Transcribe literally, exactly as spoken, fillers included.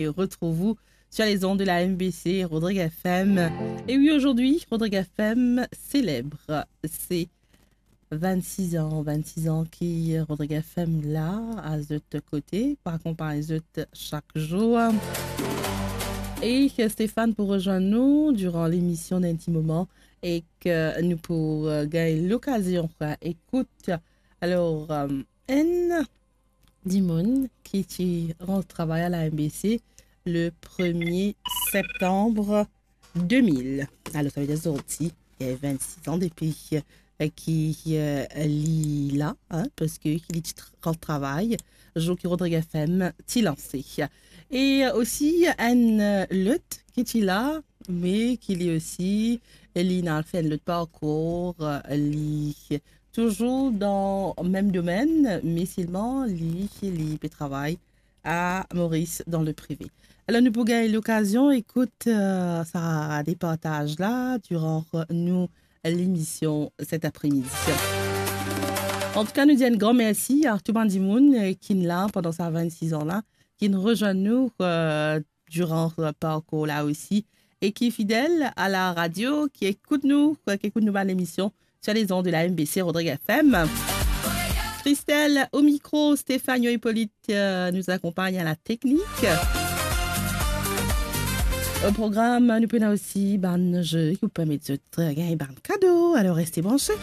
et retrouve vous sur les ondes de la M B C Rodrigue F M. Et oui, aujourd'hui, Rodrigue F M célèbre ses vingt-six ans, vingt-six ans ki Rodrigue F M la, a zot kote, pou akonpagn zot chak zour. E Stéphane pou rezwenn nou diran lemision dan enn ti moman e ki nou pou, euh, gagn lokazion pou ekout. Alor, euh, enn dimoun ki ti rant travay a la M B C le premier septembre deux mille. Alor, savedir zordi, li ena vingt-six ans depi, euh, ki, euh, li la, hein, parski li ti tra-, rant travay zour ki Rodrigue F M ti lanse. E, euh, osi, enn, euh, lot ki ti la, me ki li osi, li ena fer enn lot parkour, euh, li touzour dan mem domenn, me selman li, li pe travay a Moris dan le prive. Alor, nou pou gagn lokazion ekout, euh, sa reportaz la diran nou lemision set apremidi. Antouka, nou dir enn gran mersi a tou bann dimoun, euh, ki'nn la pandan sa vingt-six ans la, ki'nn rezwenn nou, euh, diran, euh, parkour la osi, e ki fidel a la radio, ki ekout nou, ki ekout nou bann lemision sur les ondes de la M B C Rodrigue F M. Christelle au micro, Stéphane Hippolyte, euh, nous accompagne à la technique. Au programme, nou pena osi bann ze ki pou permet zot, euh, gagn bann kado. Alor, reste branche.